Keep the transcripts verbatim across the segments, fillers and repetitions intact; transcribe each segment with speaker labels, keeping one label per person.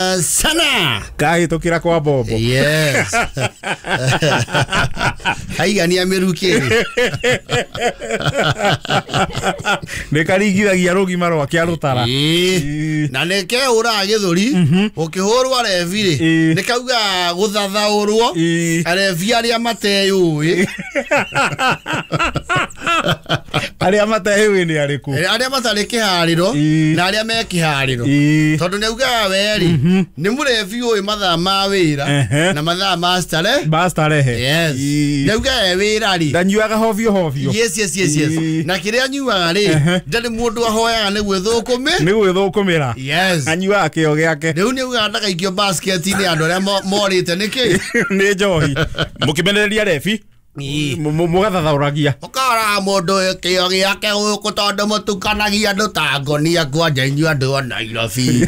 Speaker 1: Sana
Speaker 2: kahĩtũkĩra kwa bombo.
Speaker 1: Yes. Kaigania mĩrukĩ.
Speaker 2: Nĩ karingithagia rũgima rwake arũtara.
Speaker 1: Na nĩ keũraga gĩthũri ũkĩhũrwo arebi rĩ nĩ kauga gũthathaũrwo arebi arĩa mateyũĩ.
Speaker 2: Arĩa mateyũĩ nĩ arĩkũ?
Speaker 1: Arĩa matarĩ kĩharĩro na arĩa me kĩharĩro. Tondũ nĩ augaga we rĩ nĩ mũrebi ũĩ mathaa ma wĩra na mathaa ma starehe.
Speaker 2: Ma starehe.
Speaker 1: Yes. Nĩ augaga e wĩra rĩ
Speaker 2: ndanyuaga hovyo hovyo.
Speaker 1: Yes yes yes yes. Na kĩrĩa anyuaga rĩ ndarĩ mũndũ ahoyaga nĩ gwĩthũkũmĩ.
Speaker 2: Nĩ gwĩthũkũmĩra.
Speaker 1: Yes.
Speaker 2: Anyuaga kĩo gĩake.
Speaker 1: Rĩu nĩ augaga ndagaikio basket-inĩ andũ arĩa morĩte nĩkĩ?
Speaker 2: Nĩ njohi. Mũkĩmenereria rebi mũgathathaũragia.
Speaker 1: Mũkoraga mũndũ kĩo gĩake gũkũ tondũ mũtukanagia andũ ta ngonia kwanja inyuĩ andũ a Nairobi.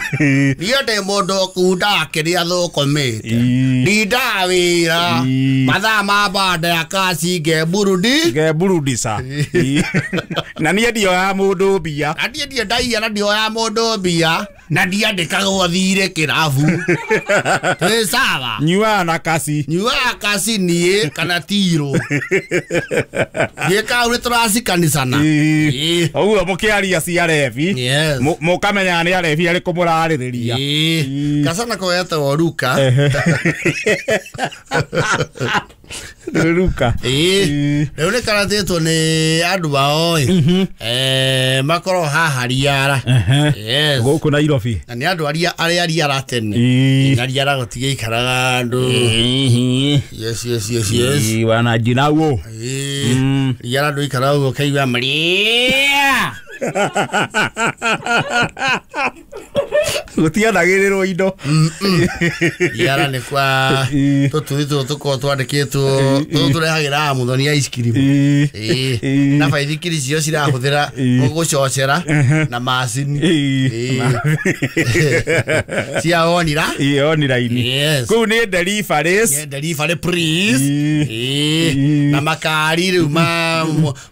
Speaker 1: Niĩ ndĩ mũndũ ũkundaga kĩrĩa thũkũmĩte. Ndindaga wĩra mathaa ma banda ya kaci ngeburudi.
Speaker 2: Ngeburudisa. Na niĩ ndioyaga mũndũ mbia.
Speaker 1: Na niĩ ndirĩ ndaiya na ndioyaga mũndũ mbia na ndiandĩkagwo thirĩ kĩrabu. Twĩ sawa.
Speaker 2: Nyuaga na kaci.
Speaker 1: Nyuaga kaci niĩ kana tirũ. Niĩ kau nĩ tũracikanicana.
Speaker 2: Ũguo mũkĩaria cia rebi mũkamenya nĩ arebi arĩkũ mũrarĩrĩria.
Speaker 1: Kacana ko getagwo Ruka.
Speaker 2: Ruka.
Speaker 1: Rĩu nĩ karatĩtwo nĩ andũ ao ĩ makorwo haha Riara.
Speaker 2: Gũkũ Nairobi.
Speaker 1: Na nĩ andũ arĩa arĩa Riara tene. Na Riara gũtigĩikaraga andũ. Yes yes yes yes.
Speaker 2: Wanajinauo.
Speaker 1: Riara ndũikaraga ũguo ũkaigua maria.
Speaker 2: Gũtianagĩrĩrwo indo.
Speaker 1: Riara nĩ kwa tũtũthi tũtũ tũkoragwo twandĩkĩtwo tũtũ tũrehagĩra Mũthoni ice cream. Na baithikiri cio cirahũthĩra gũcocera na macini. Cia onira.
Speaker 2: Oniraini. Kũu nĩ deliveries.
Speaker 1: Delivery please. Na makari rĩu ma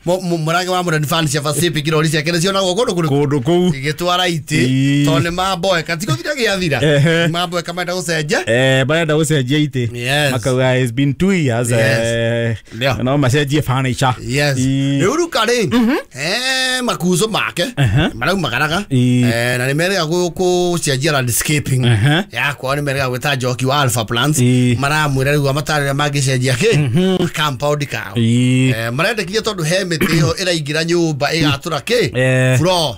Speaker 1: mũrangi wa Modern Furniture Pacific irori ciake nĩ cionagwo kũndũ kũrĩkũ?
Speaker 2: Kũndũ kũu.
Speaker 1: Igĩtwara itĩ tondũ nĩ mamboeka ti gũthira gĩathira. Mamboeka marenda gũcenjia.
Speaker 2: Eh, marenda gũcenjia itĩ. Makauga it's been two years. No macenjie furniture.
Speaker 1: Yes. Rĩu Ruka rĩ eh makuzo make maraumagaraga na nĩ merega gũcenjia landscaping yakwa nĩ merega gwĩta Njoki wa Alpha Plants maramwĩra rĩu amatarĩria mangĩcenjia kĩ compound kao. Marendekithia tondũ he mĩtĩ ĩyo ĩraingĩra nyũmba ĩgatũra kĩ floor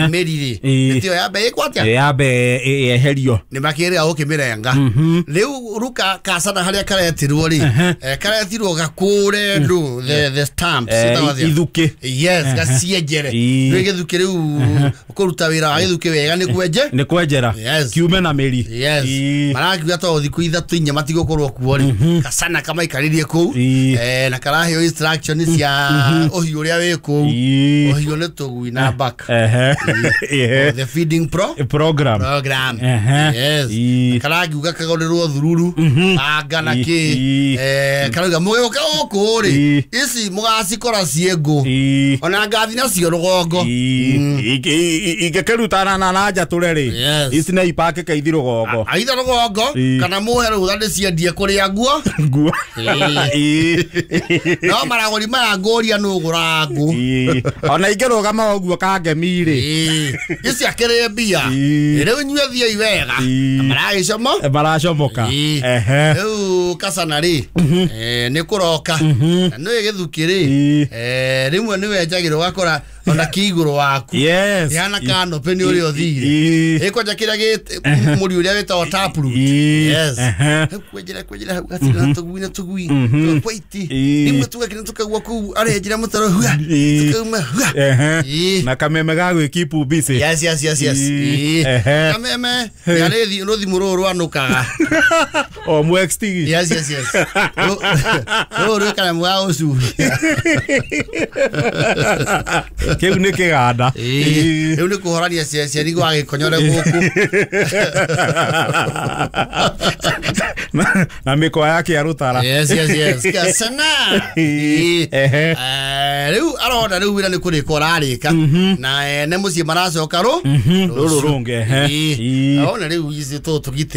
Speaker 1: mĩri rĩ mĩtĩ ĩyo yambe ĩkwo atĩa?
Speaker 2: Yambe yeherio.
Speaker 1: Nĩ makĩrĩga gũkĩmĩrenga. Rĩu Ruka kacana harĩa karetirwo rĩ karetirwo gakũre ndũ the the stamps
Speaker 2: ithukĩ.
Speaker 1: Yes, gacienjere. Rĩu gĩthukĩ rĩu kũruta wĩra wa gĩthukĩ wega nĩ kwenje?
Speaker 2: Nĩ kwenjera. Kiume na mĩri.
Speaker 1: Yes. Marakiuga to thikũ ithatũ inya matigũkorwo kuo rĩ kacana kamaikarĩrie kũu na karaheo instruction cia ũhiũ ũrĩa wĩ kũu. Ũhiũ nĩ tũgui na baka. The feeding pro
Speaker 2: program.
Speaker 1: Program. Yes. Karagiuga kagũrĩrwo thururu banga na kĩ karauga mũgĩũka gũkũ rĩ ici mũgacikora ciĩ ngũ ona ngathi nacio rũgongo.
Speaker 2: Ingĩkĩrutana na na njatũre rĩ ici nĩ ipakĩke ithi rũgongo.
Speaker 1: Aitha rũgongo kana mũhe rũtha ndĩciendie kũrĩa nguo.
Speaker 2: Nguo.
Speaker 1: No maragũri maya ngũria nũ ũgũraga ngũ.
Speaker 2: Ona ingĩrũgama ũguo kangemi rĩ
Speaker 1: ici akĩrĩ mbia. Rĩu inyuĩ thiĩi wega. Maragĩcomo?
Speaker 2: Maracomoka.
Speaker 1: Rĩu kacana rĩ nĩ kũroka. Na nĩũĩ gĩthukĩ rĩ rĩmwe nĩ wenjagĩrwo ũgakora ona kĩ igũrũ waku.
Speaker 2: Yes.
Speaker 1: Ĩhana canopy nĩ ũrĩa ũthire. Ĩkwanja kĩrĩa mũri ũrĩa wĩtagwo taproot. Yes. Kwenjera kwenjera hau gatirĩ na tũgui na tũgui. Tũkwaiti. Rĩmwe tũgakĩra tũkaigua kũu arenjera mũtaro hua. Tũkauma hua.
Speaker 2: Na kameme ga gwĩkeep busy.
Speaker 1: Yes yes yes yes. Kameme nĩ rũthimũ rũrũ rwanũkaga.
Speaker 2: O mwextigi.
Speaker 1: Yes yes yes. Rũrũ rwĩ kanyamũ ga gũcuria.
Speaker 2: Kĩu nĩ kĩganda.
Speaker 1: Ĩĩ, rĩu nĩ kũhorania ceceni gwa gĩkonyore gũkũ.
Speaker 2: Na- na mĩkwa yake ya rũtara.
Speaker 1: Yes, yes, yes. Kasana. Ĩĩ.
Speaker 2: Ehe.
Speaker 1: Eh, rĩu arona rĩu wĩra nĩ kũrĩka ũrarĩka na ene mũciĩ maracoka rũ
Speaker 2: Rũrũ rũngĩ, ehe.
Speaker 1: Ĩĩ.
Speaker 2: Ĩĩ.
Speaker 1: Arona rĩu ici tũtũgitĩre.